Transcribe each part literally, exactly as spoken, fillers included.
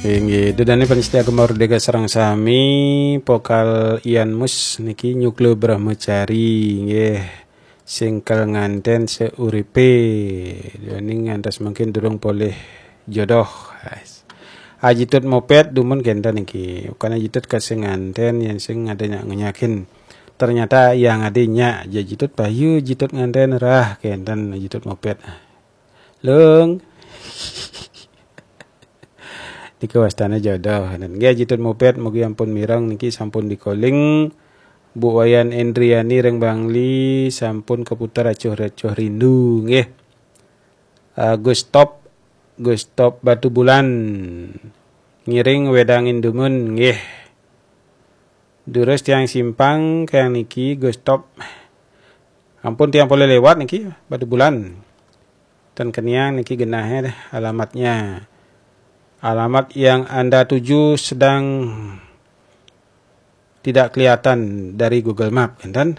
Inggih, ida dané pamiarsa Gema Merdeka sareng sami, vokal Ian Mus niki Nyukla Brahmacari, nggih. Sing kal nganten seuripe, ning ngantos mangkin durung polih jodoh. Ajitut Mopet dumun kenten niki. Bukan ajitut ka sing nganten, yen sing ada nyak ngenyakin. Ternyata yang ada nyak, ajitut payu, ajitut nganten rah kenten ajitut Mopet. Lung. Niki wastane jodoh. Nggih, ajitut Mopet, mugi ampun mireng niki sampun dikoling. Bu Wayan Endriani ring Bangli sampun keputar acuh-acuh rindu, nggih. Ah, Gustop, Gustop Batu Bulan. Ngiring wedangin dumun, nggih. Durus tiang simpang kayang niki, Gustop. Ampun tiang polih lewat niki, Batu Bulan. Ten keniang niki genahe alamatnya. Alamat yang Anda tuju sedang tidak kelihatan dari Google Map, kenten.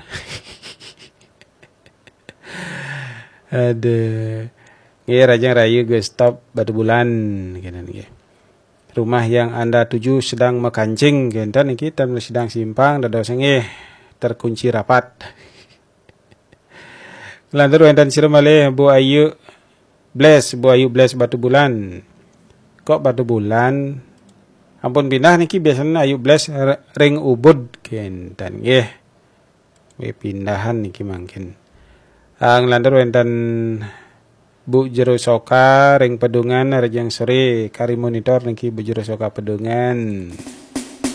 Aduh. Nggih, Rajang Rayu Gustop Batu Bulan, kenten nggih. Rumah yang Anda tuju sedang mekancing, kenten niki, ten sedang simpang, dados nggih terkunci rapat. Lantur wenten sira malih Bu Ayu Bless, Bu Ayu Bless Batu Bulan. Kok Batu Bulan? Ampun pindah niki, biasanya Ayu Bless r-, ring Ubud kenten nggih. Wih, pindahan niki mangkin. Ah, nglantur wenten Bu Jero Soka ring Pedungan, Rajang Sore, kari monitor niki Bu Jero Soka Pedungan.